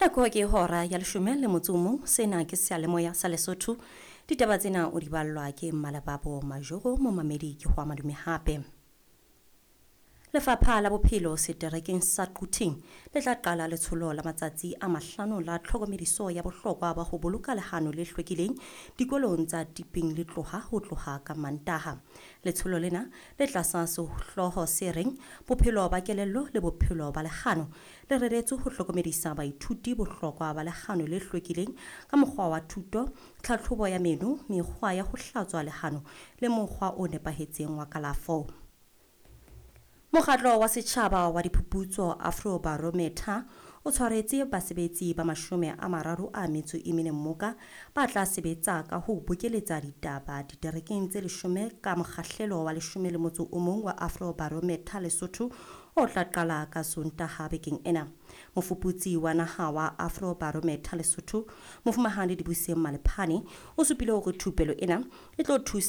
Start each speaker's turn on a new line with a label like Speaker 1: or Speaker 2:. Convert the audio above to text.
Speaker 1: Nako ke hora ya 11, sena ke seyalemoya sa Lesotho. Ditaba tsena o di ballwa ke Mmalebabo Majoro, momamedi ke ho madume hape. Lefapha la Bophelo seterekeng sa Quthing le tla qala letsholo la matsatsi a 5 la tlhokomediso ya bohlokwa ba ho boloka lehano le hlwekileng dikolong tsa Tiping le tloha ho tloha ka Mantaha. Letsholo lena le tlasa sehlooho se reng Bophelo ba kelello le bophelo ba lehano le reretswe ho hlokomedisa baithuti bohlokwa ba lehano le hlwekileng ka mokgwa wa thuto, tlhatlhobo ya meno, mekgwa ya ho hlatswa lehano le mokgwa o nepahetseng wa kalafo. Mokgatlo wa setjhaba wa diphuputso Afrobarometer o tshwaretse basebetsi ba 34 mmoka ba tla sebetsa ka ho bokeletsa ditaba diterekeng tse 10 ka mokgahlelo wa 11 wa Afrobarometer Lesotho o tla qala ka Sontaha bekeng ena. Mofuputsi wa naha wa Afrobarometer Lesotho, Mofumahadi Dibuseng Malephane, o supile hore thupelo ena e tlo thusa